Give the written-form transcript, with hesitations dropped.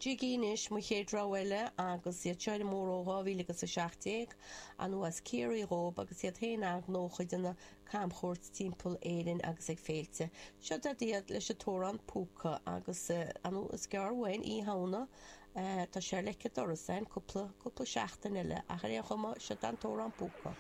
Jiggy anois, mo chéad rogha eile agus iad seo ar an mbóthar ó 2017, ar ndóigh as Ciarraí dhóib agus iad féin an-ghnóthach ag déanamh camchuairt timpeall Éirinn agus ag féilte. Seo iad leis an t-amhrán Púca agus ar ndóigh is gearr uainn Oíche Shamhna, tá sé ar leic an dorais againn, cúpla, cúpla seachtain eile ach ar aon chuma, seo an t-amhrán Púca.